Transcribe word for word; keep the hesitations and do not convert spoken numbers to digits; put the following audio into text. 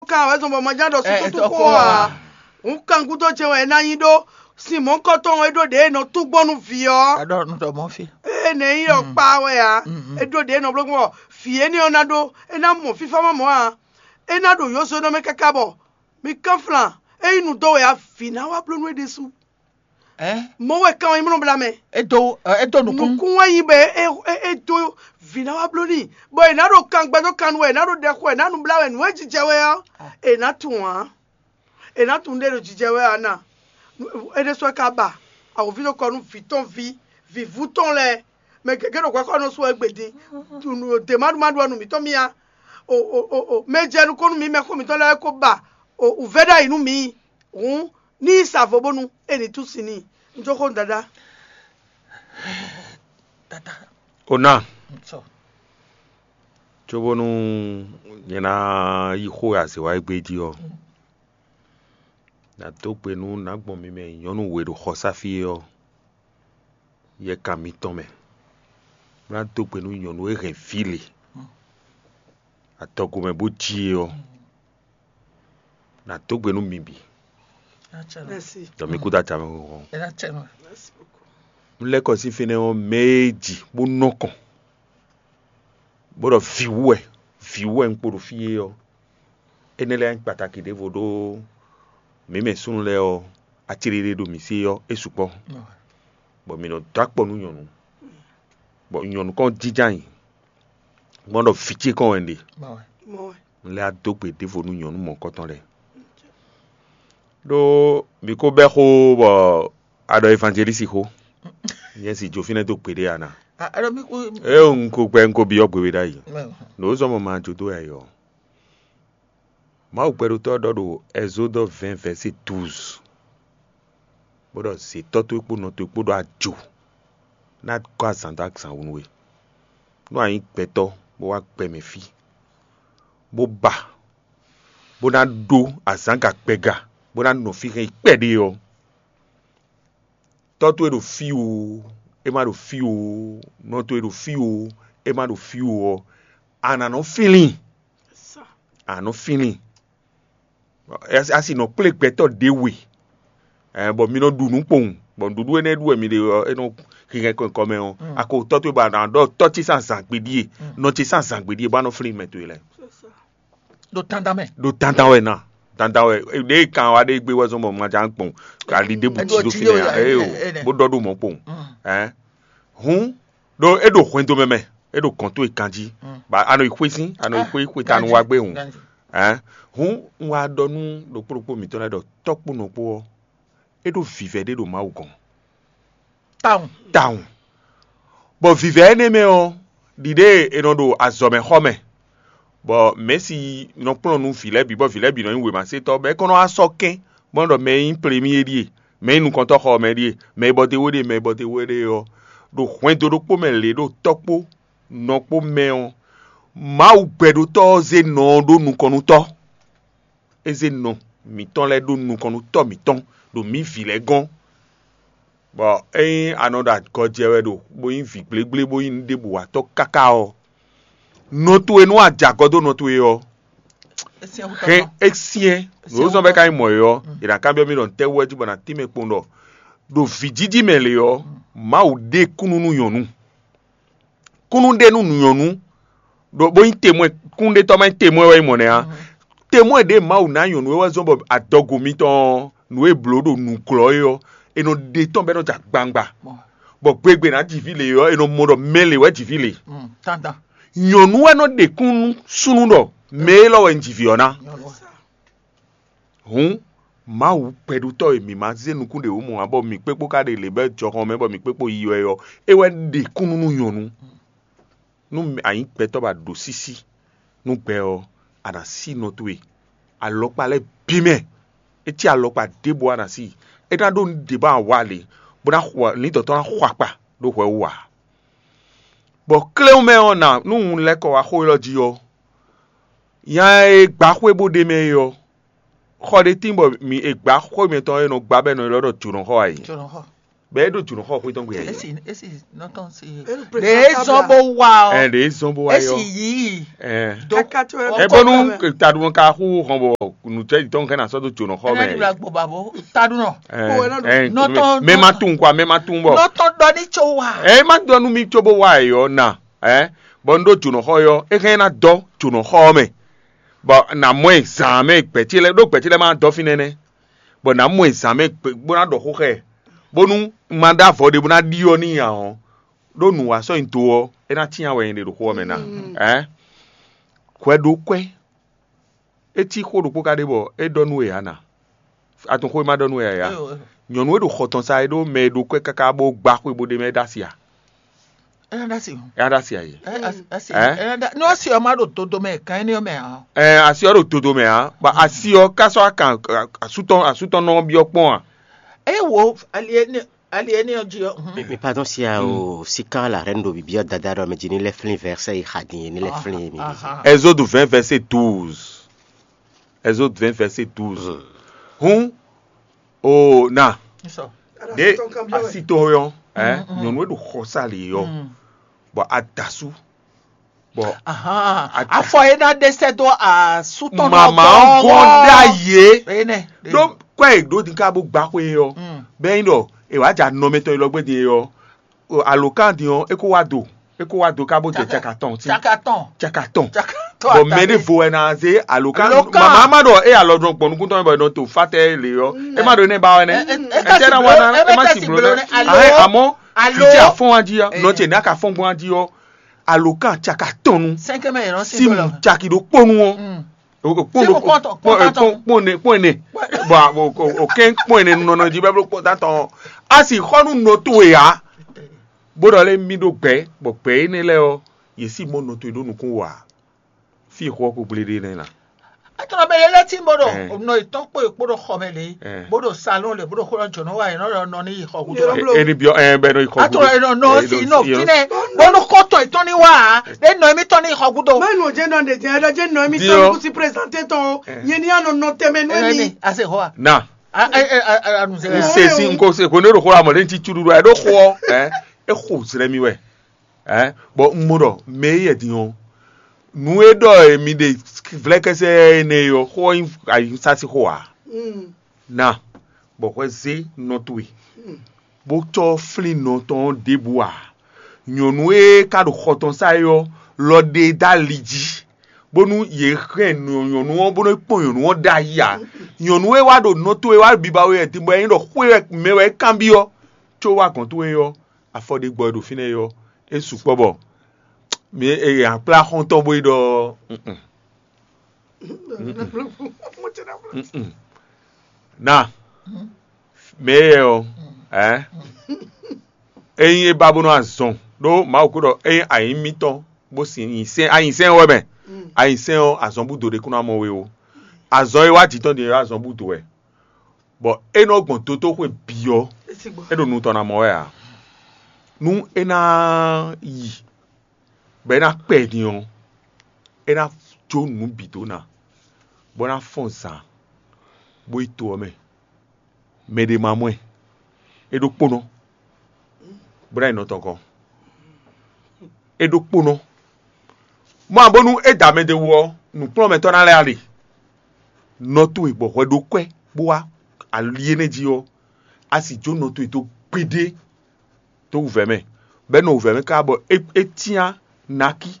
Kan wɛ zɔn bɔ ma ján ɖɔ súkútú xó a? Hǔn kan gúdo jɛ wɛ é ná nyí ɖó sin mɔ̌kɔtɔn e ɖó ɖě e nɔ tún gbɔn nú vǐ ɔ́. Aɖɔ nú ɖɔ mɔ fí. Ée nɛ nyí ɖɔ kpa wɛ ǎ. É ɖó ɖě e nɔ bló gbɔn bɔ vǐ énɛ́ ɔ́ ná ɖó é ná mɔ fífá ma mɔ̌ ǎ. É ná ɖo yǒzonɔ mɛ káká bɔ mi kánflán. É nyí nu dó wɛ ǎ, vǐ ná wá bló nú é ɖésú. Mɔ̌ wɛ kan ɔ́ nyí mlɔ́ bla mɛ. É dó é dó nukún. Nukún wɛ nyí bɔ é é é dó vǐ ná wá bló n'i, bɔ è nǎ ɖo kan gbɛdó kan nu wɛ è nǎ ɖo ɖɛ xo wɛ è nǎ nu blá wɛ nǔ e jijɛ wɛ ɔ́, è nǎ tunwun ǎ. È nǎ tunwun ɖé ɖo jijɛ wɛ ǎ na. É ɖésú wɛ ka ba awǒvi ɖo kɔ nú vǐ tɔn ví vǐvú tɔn lɛ́ɛ. Mɛ gěgé ɖo hwɛxɔnɔ sú wɛ gbe din. Dě ma ɖu ma ɖu ɔ́ nu mǐtɔn mì a. O o o o mɛ jɛ nukɔn nú mǐ mɛxó mǐtɔn lɛ́ɛ ko ba o wǔvɛ́ ɖ'ayǐ nú mǐ. Hǔn ní yi sa vo bónú é ní tú sin n'i. Un jó xó nú dadá. Ona, cóbónú nyɛ ná yi xó e azě wa égbé jí ɔ́, nǎ dó gbe nú nǎ gbɔn mi mɛ nyɔ̌nu we ɖo xɔsáfí é ɔ́, yɛ kan mitɔn mɛ. Bó ná dó gbe nú nyɔ̌nu e hɛn vǐ le adɔgo mɛ bó jí é ɔ́, nǎ dó gbe nú mi bǐ. Ɖɔ mi kú dó acamɛ hɔn. Un lɛ́ kɔ sín fínɛ́ ɔ́, mɛ e ji bó nɔ kɔn, bó ɖɔ vǐ wú wɛ, vǐ wú wɛ un kpo ɖo fí é ɔ́, énɛ́ lɛ́ɛ nyí kpataki ɖěvo ɖó mǐ mɛ súnnu lɛ́ɛ ɔ́, acéɖéɖé ɖo mǐ sí ɔ́, é sukpɔ́, bɔ mǐ nɔ dó akpɔ nú nyɔ̌nu, bɔ nyɔ̌nu kɔn jínjɔ́n ayǐ, gbɔn ɖɔ vǐ ce kɔn wɛ un ɖe. Un lɛ́ wá dó gbe ɖěvo nú nyɔ̌nu mɔ̌kɔtɔn lɛ́ɛ. Ɖó mǐ ko bɛ́ xó bɔ a ɖɔ evangelisi xó. Nyɛ si jó fínɛ́ dó gbeɖé a na. Ée un ko gbɛ un ko byɔ́ gbe we ɖ'ayǐ. Nǔ zɔ́n mɔ ma jó dó yɛ yɔ. Mawu gbɛɖotɔ́ ɖɔ ɖo Ɛzódɔ vɛ̌ɛn vɛ̌si douze, bó ɖɔ zě tɔ́ towe kpó nɔ towe kpó ɖó ajo ná gɔ́ azǎn dó azǎn wú nú we. Nú a nyǐ gbɛtɔ́ bó wá gbɛ mɛ fí, bó ba, bó ná ɖó azǎn ga gbɛga, bó ná nɔ fí hɛn yi kpɛɖé ɔ́, tɔ́ towe ɖo fí o, é má ɖo fí o, nɔ towe ɖo fí o, é má ɖo fí o ɔ́, a nǎ nɔ fínlín. A nǎ nɔ fínlín. A si nɔ kplé gbɛtɔ́ ɖě we, bɔ mi nɔ ɖu nǔ kpowun, bɔ nǔɖuɖu énɛ́ ɖu wɛ mi ɖe ɔ́, é nɔ hihɛn kɔn kɔ mɛ ɔ́, a ko tɔ́ towe bɔ a nǎ ɖɔ tɔ́ ce sín azǎn gbe ɖíe, nɔ ce sín azǎn gbe ɖíe, bɔ a nɔ flín mɛ towe lɛ́ɛ. Ɖo dandan mɛ. Ɖo dandan wɛ na, dandan wɛ. Ɖě kan wa ɖe gbé wɛ zɔn bɔ ma ján kpɔn, ali ɖěbǔ jí ɖó fínɛ́ ǎ, bó ɖɔ ɖó mɔ̌ kpowun. Hǔn ɖó é ɖo hwɛndo mɛ mɛ, é ɖo gɔ̌n towe ganjí, bɔ a nɔ yi xwé sín, a nɔ yi xwé xwetanu wá gbé hǔn. Hǔn un wá ɖɔ nú ɖokpó ɖokpó mǐtɔn lɛ́ɛ ɖɔ tɔ́ kpó nɔ kpó ɔ́, é ɖó vǐvɛ́ ɖé ɖo Mawu gɔ́n. Tawun. Tawun. Bɔ vǐvɛ́ énɛ́ mɛ ɔ́, ɖiɖée è nɔ ɖo azɔ̌mɛxɔmɛ, bɔ mɛ̌si nɔ kplɔ́n nú vǐ lɛ́ɛ bǐ, bɔ vǐ lɛ́ɛ bǐ nɔ nyí wěmasetɔ́, bɔ é kɔn nɔ wá sɔ́ kɛ́n, bó nɔ́ ɖɔ mɛ e nyí plemi é ɖíe, mɛ e nyí nukɔntɔ́xɔ ɔ́ mɛ ɖíe, mɛ e bɔ d'é wú é ɖíe, mɛ e bɔ d'é wú é ɖíe ɔ́, ɖo hwɛndo ɖokpó mɛ lě ɖo tɔ́ kpó nɔ kpó mɛ ɔ́, Mawu gbɛɖótɔ́ ɔ́ zé nɔ ɔ́ ɖó nukɔn nú tɔ́. É zé nɔ mǐtɔn lɛ́ɛ ɖó nukɔn nú tɔ́ mǐtɔn ɖo mǐ vǐ lɛ́ɛ gɔ́n. Bɔ ényí a nɔ ɖo agɔjɛ wɛ ɖo bó nyí vǐ gblégblé bó nyí nǔɖébǔ watɔ́ káká ɔ́, nɔ towe nú a jɛ agɔ dó nɔ towe ɔ́, hɛn é syɛ́n nǔ e zɔ́n bɔ é ka nyí mɔ̌ é ɔ́, è nǎ kanbyɔ́ mì ɖɔ nǔtɛ́ wú wɛ jí bɔ nǎ tín mɛ kpowun ɖɔ ɖo vǐjiji mɛ lě ɔ́, Mawu ɖe kúnnu nú nyɔ̌nu. Kúnnu ɖe nú nyɔ̌nu ɖo bó nyí temwɛ, kúnnuɖetɔ́ ma nyí temwɛ wɛ nyí mɔ̌ nɛ́ ǎ. Temwɛ ɖě Mawu ná nyɔ̌nu é wɛ zɔ́n bɔ adɔgo mitɔn ɔ́, nǔ e blǒ ɖo nǔglɔ́ é ɔ́, è nɔ ɖe tɔ́n bɔ é nɔ jɛ agbawungba, bɔ gbegbe ná ji vǐ lě ɔ́, è nɔ mɔ ɖɔ mɛ lě wɛ ji vǐ lě. Dandan. Nyɔ̌nu wɛ nɔ ɖe kúnnu súnnu ɖɔ mɛ élɔ́ wɛ un ji vǐ ɔ́ ná. Hǔn Mawu gbɛɖutɔ́ e mǐ ma zé nukún ɖě wú mɔ ǎ, bɔ mǐ kpékpó ka ɖe lě bɔ jɔhɔn mɛ bɔ mǐ kpékpó yi wɛ ɔ́, é wɛ ɖe kúnnu nú nyɔ̌nu. Nú a nyǐ gbɛtɔ́ bɔ a ɖǒ sísí nú gbɛ ɔ́, a nǎ sí nɔ towe. Alɔkpa lɛ́ɛ bǐ mɛ, é cí alɔkpa ɖěbǔ a nǎ sí. É ná ɖó nǔ ɖě bɔ a wa lě, bó ná xɔ ní dɔ̌tɔ́ ná xɔ akpa ɖó hwɛ wú ǎ. Bɔ kléwún mɛ ɔ́ ná nú un lɛ́ kɔ wá xó élɔ́ jí ɔ́, nya e gbǎ xwé bó ɖ'é mɛ é ɔ́, xɔ ɖé tín bɔ mi è gbǎ xwé mitɔn e nɔ gbá bɔ è nɔ ylɔ́ ɖɔ jǒnɔxɔ ǎ é. Jǒnɔxɔ. Bɔ é ɖo jǒnɔxɔ xwé tɔn gbe ǎ é. Esi esi nɔtɔn si. Ɖe zɔn bó wa ɔ. Ɛ ɖe zɔn bó wa yɔ. Esi yìí. Ɛ. Kaka tó ɛ. Ɛ bɔnu taɖumɔ ka xú hɔn bɔ. nǔcɛ́ji tɔn hɛn ná sɔ́ dó jǒnɔxɔ mɛ. Ɛ, gbɔbabɔ tadu nɔ. Ɛ, Kpo wɛ nɔ ɖo. ɛ, Nɔ tɔn- mɛ ma tunwun kwa, mɛ ma tunwun bɔ. Nɔ tɔn ɖɔ ní tso wa. Ɛ, ma ɖɔ nú mi tso bó wá ɛ yɔ na. Ɛ, bɔ n ɖó jǒnɔxɔ yɔ, é hɛn ná dɔ jǒnɔxɔ mɛ, bɔ nà mɔ ɛ zǎn mɛ gbɛ̌ ce lɛ́ɛ ɖó gbɛ̌ ce lɛ́ɛ ma dɔ fínɛ́ nɛ́, bɔ nà mɔ ɛ zǎn mɛ gbɛ- bó ná ɖɔ xó xɛ, bónú ma ɖó avɔ ɖé bó ná ɖiɔ n'i ǎ ɔ́, ɖó nǔ wa sɔ́ nyi do ɔ́, é ná cyán wɛ nyɛ ɖe ɖo xó ɔ́ mɛ ná. Ɛ, hwɛ ɖó kwɛ́, é cí xó ɖokpó ka ɖe bɔ é ɖɔ nú we ǎ na. Atunxó e ma ɖɔ nú we ǎ ya. Nyɔ̌nu e ɖo xɔ tɔn sa é ɖó mɛ e ɖo kwɛ́ káká bó gbá xwé bó ɖe mɛ é ɖó asi a? Ɛ na ɖasi. É ɖó asi a yě? Ɛ asi. Ɛ? Ɛ na ɖa- Ní ɔsi ɔ́ má ɖo dodo mɛ kan éní ɔ́ mɛ ǎ. Ɛ, asi ɔ́ ɖo todo mɛ ǎ, bɔ asi ɔ́ ká sɔ́ akan asútɔn asútɔn nɔ byɔ́ kpɔ́n a? Eye wo ali éní ali éní ɔ́ jí ɔ́. Mhm. Mais, mais pardon, si a o si quand la reine do bibia dada ɖɔ mɛ jí ní lɛ flin verset yi xa din ní lɛ flin mi. Ahan. Exode vingt verset douze. Exode vingt verset douze. Hun o na Sɔ. ɖe asi tɔn yɔ, ɛ, nyɔ̌nu e ɖo xɔ sa lě yɔ, bɔ adasu, bɔ Ahan. Ata- Afɔ yé ná ɖe sɛ dó asútɔn mama ɔ́ gɔn ɖ'ayǐ é. Ene. Ɖó kɔ́ ɛ ɖó din ká bó gbá xwé ɔ́, bɛ́ nyí ɖɔ è wǎ jɛ anɔmɛtɔn élɔ́ gbé din é ɔ́, alǒkan din ɔ́ é kó wá do é kó wá do ká bó jɛ caka tɔn sí. Caka tɔn. Caka tɔn. Caka tɔn. Bɔn mɛ ɖé vo wɛ ná zé alǒkan Alǒkan. Mama ma ɖɔ é alɔ dɔn gbɔn nukúntɔn bɔ è nɔ to fatɛ lě ɔ́ é má ɖo énɛ́ ba wɛ nɛ. Ɛ- ɛ- Ɛ tɛ na wa na é má ti blo nɛ. Alo. Ahɛ amɔ Alo. Fiti afɔn wa jí ɔ́ Ɛ. Nɔ ce ní aka fɔn gbɔn wa jí ɔ́, alǒkan caka tɔn nu Sɛnkɛmɛ yɛrɛ si sí dó mu la. Caki ɖó kpónu ɔ́. Mm. O- o- Tí mo kpɔn tɔn, kpɔn tɔn. Kpɔn ne kpɔn ne bɔn o- o- o kɛn kpɔn ne nɔnɔ jí bɛblo kpɔn tán tɔn a sì xɔ nú nɔ towe ya bó ɖɔ lé mí ɖó gbɛ bɔ gbɛ énɛ́ lɛ́ɛ ɔ́ yě sì mɔ nɔ towe ɖó nukún wa fí xɔ kó gblé ɖé nɛ la. Atɔnɔ bɛ lé lé tí mo ɖo Ɛ. nɔ ìtɔn kpó ìkpó ɖo xɔ mɛ lé Ɛ. Bó ɖo salon lé bó ɖo xó lɔ jɔnɔ wa yìí nɔ nɔ ní xɔ gúdo. Yɔrɔ- Bló. Eni biɔ ɛ bɛ nɔ ikɔ Atɔnɔ yìí nɔ nɔ sí nɔ fínɛ bó nɔ kɔtɔ ìtɔn ní wa ɖé nɔ émi tɔn ní xɔ gúdo. Mɛ nɔ jɛ nɔ ɖe jɛ ɖɔ jɛ nɔ mi Diɔ. Tɔn kusi présenter tɔn. Yɛn ni anɔ nɔ tɛmɛ nɔ mi. Ase xɔ wa. Na Ase xɔ n se si n ko se ko ne ɖo xó la mɔ ɖe ŋti tsuɖuɖu ɛ ɖo xó ɔ ɛ e xo zlɛ mi wɛ ɛ bɔ n mo ɖɔ mɛ e yɛ din ɔ nu e ɖɔ emi ɖe vlɛkɛsɛ ene yɔ xó ɔ nyi sasi xó a na bɔ hwɛ zé nɔ towe bó cɔ flín nɔ tɔn ɖěbǔ ǎ. Nyɔ̌nu e ka ɖo xɔ tɔn sá é ɔ́ lɔ ɖe dó ali jí, bónú yě hɛn nyɔ̌nu ɔ́ bó nɔ́ kpɔ́n nyɔ̌nu ɔ́ ɖ'ayǐ ǎ. Nyɔ̌nu e wá ɖo nɔ towe wá biba we wɛ din bɔ é nyí ɖɔ xwé wɛ mɛ wɛ é kanbyɔ́, có wá gɔ̌n towe ɔ́, afɔ ɖé gbɔ e ɖo fínɛ́ é ɔ́, é sukpɔ́ bɔ mi e akplá xɔ́ntɔn bó yi ɖɔ na mɛ yɛ ɔ ɛ ényí é ba bó nɔ azɔn ɖó Mawu kó ɖɔ ényí ayǐ mítɔn bó sin nyi sɛn anyi sɛn wɛ mɛ anyi sɛn ɔ́ azɔn búdo ɖé kún ná mɔ we o. Azɔn e wá jǐ tɔn din é azɔn búdo wɛ bɔ é nɔ gbɔn dotóxwe bǐ ɔ́ é ɖo nu tɔn ná mɔ wɛ ǎ. Nú é ná yi bɔ é ná kpɛ din ɔ́ é ná jó nǔ bǐ dó ná bó ná fɔ́n zǎn bó yi to ɔ́ mɛ. Mɛ ɖé ma mɔ ɛ é ɖó kpónɔ bó ná yi nɔ tɔn gɔ́n. É ɖó kpónɔ mɔ ǎ bónú é da mɛ ɖé wú ɔ́ nǔkplɔ́nmɛtɔ́ ná lɛ́ ali. Nɔ towe bɔ hwɛ ɖó kwɛ́ bó wá ali énɛ́ jí ɔ́ a sì jó nɔ towe dó gbeɖé dó wǔvɛ́ mɛ bɔ é nɔ wǔvɛ́ mɛ káká bɔ é é cyán naki